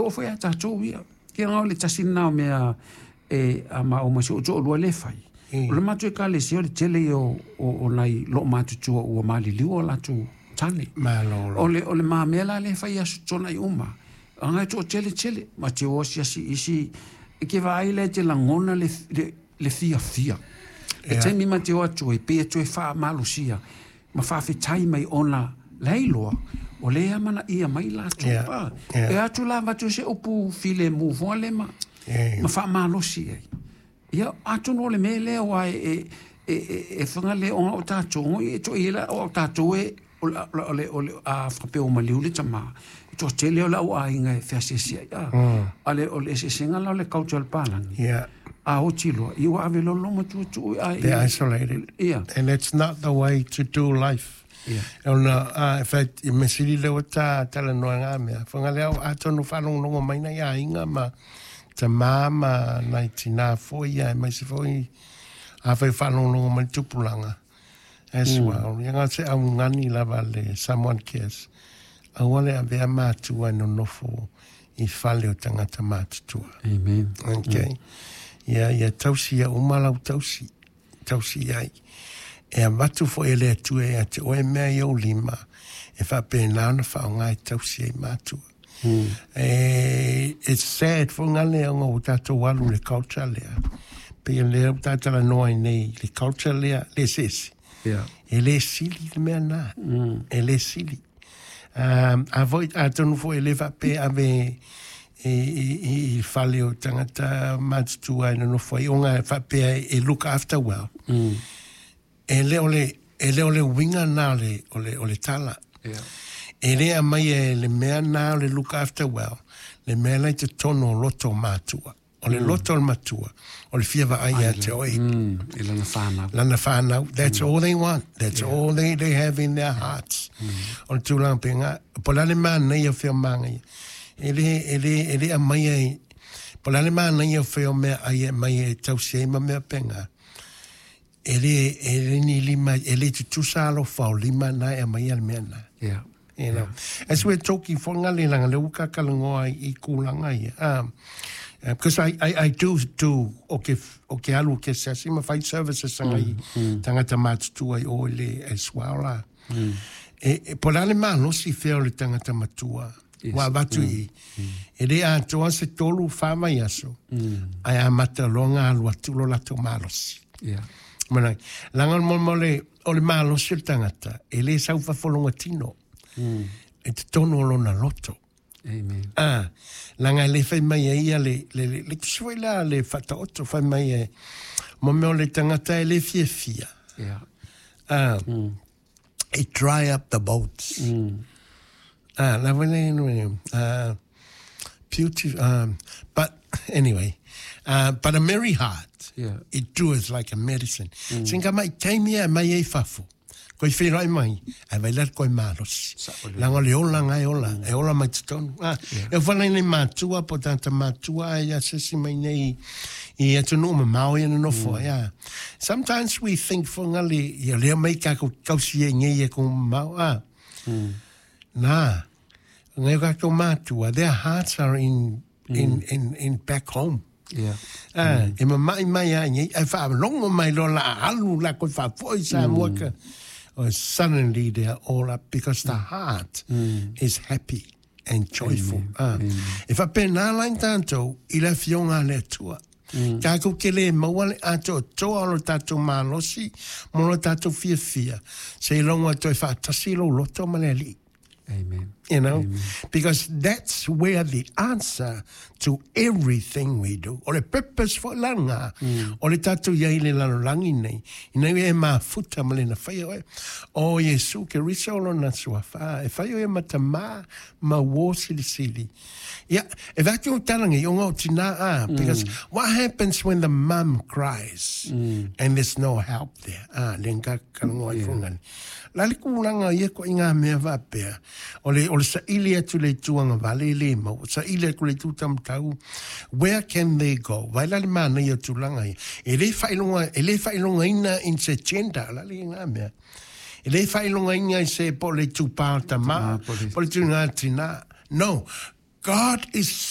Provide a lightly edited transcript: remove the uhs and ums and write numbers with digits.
oo foi ia tatou ia. Ia o le tasi lena o mea e a ma o ma si ou toalua lea e fai. O le matou ekalesia o le tele ia o nai loomatutua ua maliliu o latou tane. Malolo. O le ma mea la lea e fai i aso Toonai uma. Aga e toatele tele, ma te o asiasi isi, e ke vaai lea e te lagona le fiafia. E taimi ma te o atu ai, pei e toe faamalosia ma faafetai mai ona la e iloa, o lea e amanaia mai latou. E atu la avatu se upu filemu foi lea ma, ma faamalosi ai. Ia, atonu o le mea lea aua e fagalea ona o tatou, e toi la o tatou e o le a faapea ua maliu le tama, e toatele o le au aiga e feasiasi ai. Ale o le eseesega la o le culture o le palagi. A oti loa, ia ua ave loa loma tuutuu ai. They're isolated. And it's not the way to do life. Ona, in fact, i mesili leo ta talanoa ngā mea. Whanga leo atonu whalongongo mai nei aiga ma ta mā ma nai tina foi ia e mai se foi a whai whalongongo mai tupulanga as well. Ia ngā se au ngani lava le Samoan Cares. Aua le avea mātua e nonofo i fale o tangata mātutua. Amen. Okay. Ia tausi ia uma lau tausi. Tausi ai. E avatu foi e le Atua ia te oe mea i ou lima. E faapena ona faaaoga e tausi ai matua. E, it's sad fo ngale ona o tatou alu le culture lea. Pe lea o tātalanoa ai nei le culture lea, le sesi. E le sili le mea nā. E le sili. A voi, a tonu foi e le whape ave i fale o tangata matutua e nonofo ai, onga e whapea e look after well. E le o le winga nā o le tala. E le a mai e le mea nā o le look after well, le mea lai te tono o loto o matua. O le loto o le matua, o le fia vaai ia te oe. I lana whānau. Lana whānau, that's all they want. That's all they have in their hearts. O le tūlanga penga, po la le mana ia whio manga ia. E le a mai e, po la le mana ia whio mea ai e mai e tausi ai ma mea penga. E le ni lima, e le tutusa alo whao lima na e mai a le mea na. As we're talking for ngale langa le uka kalangoa i kulanga ia. Because I do o ke alu ke sasi ma fight services sanga i tangata matutua i o le as well la. E po la le malosi fea o le tangata matua. Wa avatu i. E le atoa se 3 wha mai aso. Ai a mata loa alu atu lo lato malosi. Mana, langa mo mo le o le malosi o le tangata, e le sau fafolonga tino. E te tono o lona loto. Amen. Ah, langa le fai mai e ia le tusi la le whataoto fai mai e mo mea o le tangata e le fia fia. Ah, it dry up the boats. Ah, la vele no, ah, beauty, but anyway, but a merry heart, it doeth like a medicine. Singa mai taimi e mai e fafo. Koi whenoi mai, ai vai la koi malosi. Sa o le- Langa le ola ngai ola, e ola mai te tonu. Ah, e whala nei mātua, po tata mātua, ai a sesi mai nei, i atu ma mau ia nofo, yeah. Sometimes we think for ngale, ia lea mai ka ko kausi e ngei e ko mau, ah. Nā, ngai ka ko mātua, their hearts are in back home. Ah, e mamai mai a nei, e wha longo mai lo la alu la ko wha foi sa mua ka. Oh, suddenly they are all up because the heart is happy and joyful. Ah. E wha pēnā lai tātou i la fionga le atua. Tātou ke le maua le ato toa o lo tātou malosi, mo lo tātou fia fia. Se i longo atu e whaatasi lo loto ma le ali. Amen. Because that's where the answer to everything we do. O le purpose for langa, o le tātou ia i le lalolangi nei, ina ia e mafuta ma le na whai oe. O Yesu ke risa o lona suafa, e whai oe matama ma wo sili sili. Ia, e vaki o talangi, o ngau tina a, because what happens when the mum cries and there's no help there? Ah, le nga kalangoa i fungani. La le kulanga ia ko i ngā mea wapea. O le sa ili atu le tuanga vale le mau. Sa ili atu le tūtamtau. Where can they go? Vai la le mana ia tūlanga ia. E le whailonga ina in se gender. La le ngā mea. E le whailonga ina i se po le tūpā tama, po le- po le tū ngā tina. No. God is